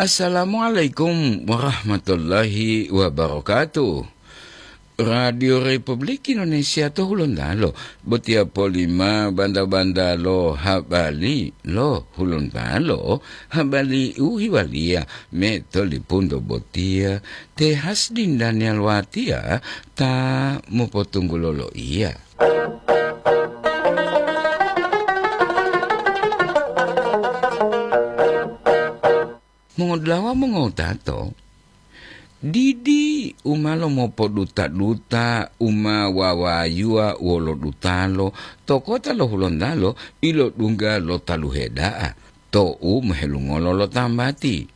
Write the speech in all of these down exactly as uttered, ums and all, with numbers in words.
Assalamualaikum warahmatullahi wabarakatuh. Radio Republik Indonesia to Hulontalo, botiya polima banda-banda lo habari lo Hulontalo, habari u hiwaliya me to lipunto botiya, te Hasdin Daniel Watiya ta mopotunggulo loiya. Mongodulawa mongotato, didi u ma lomopoduta-duta u ma wawayuwa wolo dutalo to kota lo Hulontalo ilodungga lo taluhe da'a tou mohelungolo lo tambati.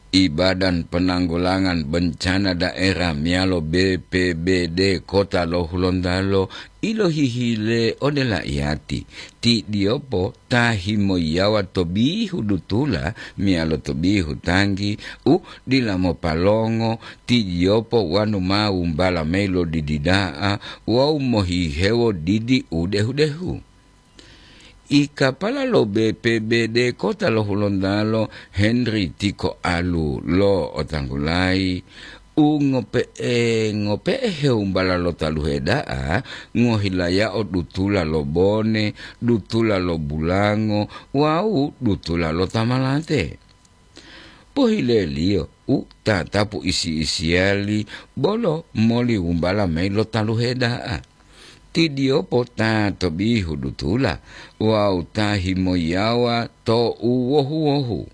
Ibadan Penanggulangan Bencana Daerah meyalo B P B D Kota lo Hulontalo ilohihile ode laiyati, ti diyopo ta himoyiyawa to bihu dutula meyalo to bihu tanggi u dila mopalongo, ti diyopo wanu ma wumbala mayi lo didi da'a wawu mohihewo didi u dehu-dehu. I kapala lo B P B D Kota lo Hulontalo, Henry Tiko Alu lo otanggulayi, u ngope'e-ngope'e hewumbala lo taluhe da'a, ngohilayao dutula lo bone, dutula lo bulango, wawu dutula lo tamalate. Pohileliyo u tatapu isi-isiyali bolo moli wumbala mayi lo taluhe da'a. Ti diyopo ta to bihu dutula wawu ta himoyiyawa to u wohu-wohu.